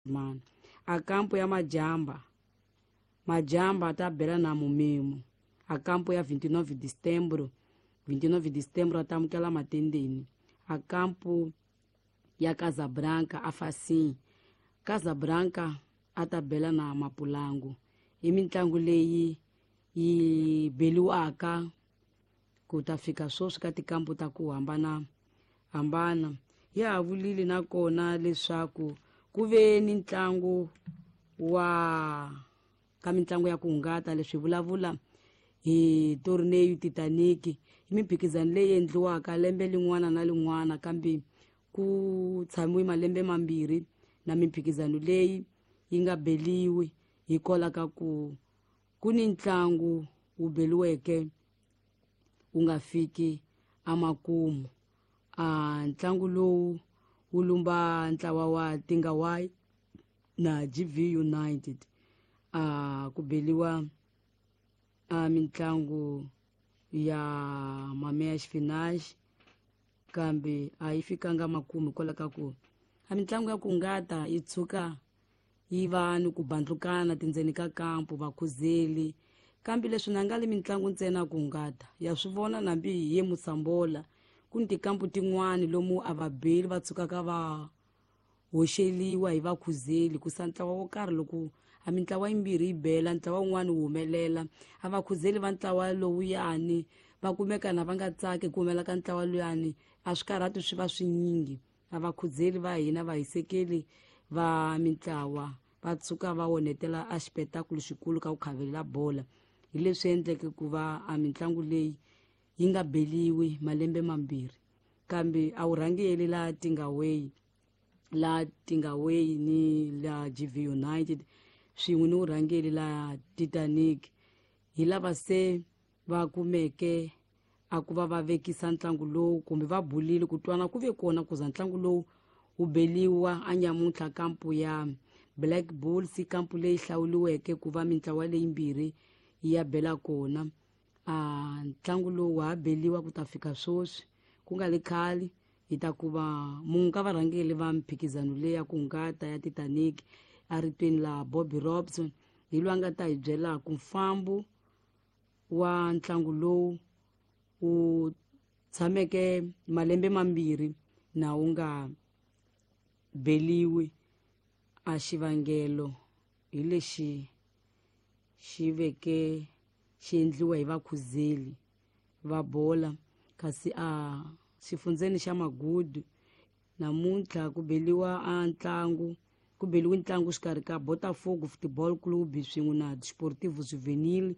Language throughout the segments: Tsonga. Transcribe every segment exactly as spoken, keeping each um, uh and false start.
Mano a kampo ya Majamba Majamba ta bela na Mumemo. A kampo ya vinte e nove de setembro, vinte e nove de setembro a tamukela Matendeni. A kampo ya Casabranca a Facim, Casabranca a ta bela na Mapulango. I mitlangu leyi yi beliwaka ku ta fika sweswi ka tikampu ta ku hambana hambana. Ya ha vulile nakona leswaku ku ve ni ntlangu wa ka mitlangu ya ku hungata, leswi vulavula hi Torneio Titanic, i mimphikizano leyi endliwaka lembe lin'wana na lin'wana, kambe ku tshamiwe malembe mambirhi na mimphikizano leyi yi nga beliwi hikwalaho ka ku ku ni ntlangu wu beliweke wu nga fiki emakumu. A ntlangu lowu wu lumba ntlawa wa Tingawai na G V United. A ku beliwa a mitlangu ya mameya xifinaxi, kambe a yi fikanga makumu hikwalaho ka ku a mitlangu ya ku hungata yi tshuka yi va ni ku bandlukana tindzeni ka kampu vakhuzeli. Kambe leswi na nga le mitlangu ntsena ku hungata ya swi vona nambi hi ye Musambola ku ni tikampu tin'wani lomu a va beli va tshukaka va hoxeliwa hi vakhuzeli ku sa ntlawa wo karhi loko a mintlawa yimbirhi yi bela ntlawa wun'wani wu humelela a vakhuzeli va ntlawa lowuyani va kumeka na va nga tsaki ku humelela ka ntlawa luyani a swi karhati swi va swinyingi. A vakhuzeli va hina vahisekeli va mintlawa va tshuka va onhetela a xipetakulu xikulu ka ku khavelela bola. Hi leswi endleke ku va a mitlangu leyi yi nga beliwi malembe mambirhi, kambe a wu rhangeli la Tingaway la Tingaway ni la G V United swin'we ni vurhangeri la Titanic hi lava se va kumeke a ku va va vekisa ntlangu lowu kumbe va bulile ku twana ku ve kona ku za ntlangu lowu wu beliwa a nyamuntlha kampu ya Black Bulls, kampu leyi hlawuriweke ku va mintlawa leyimbirhi yi ya bela kona. A ntlangu lowu wa ha beliwa ku ta fika sweswi ku nga le khale hi ta ku va munhu ka varhangeri va mphikizano leyi ya ku hungata ya Titanic a ritweni la Bobby Robson hi loyi a nga ta hi byelaka mfambo wa ntlangu lowu wu tshameke malembe mambirhi na wu nga beliwi. A xivangelo hi lexi xi veke xi endliwa hi vakhuzeli va bola. Kasi a xifundzeni xa Magudu namuntlha ku beliwa a ntlangu ku beliwe ntlangu xikarhi ka Botafogo Football Club swin'we na Desportivo Juvenil.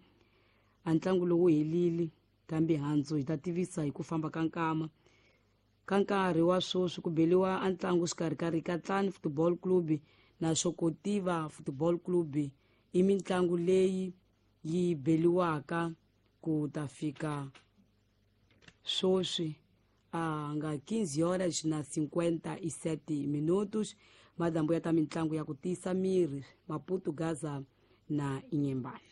A ntlangu lowu helile, kambe handzu hi ta tivisa hi ku famba ka nkama. Ka nkarhi wa sweswi ku beliwa a ntlangu xikarhi ka Rikatlani Football Club na Xokotiva Football Club. I mitlangu leyi yi beliwaka ku ta fika sweswi a nga quinze horas na cinquenta e sete minutos. Madambu ya ta mitlangu ya ku tiyisa miri Maputo, Gaza na Inhambane.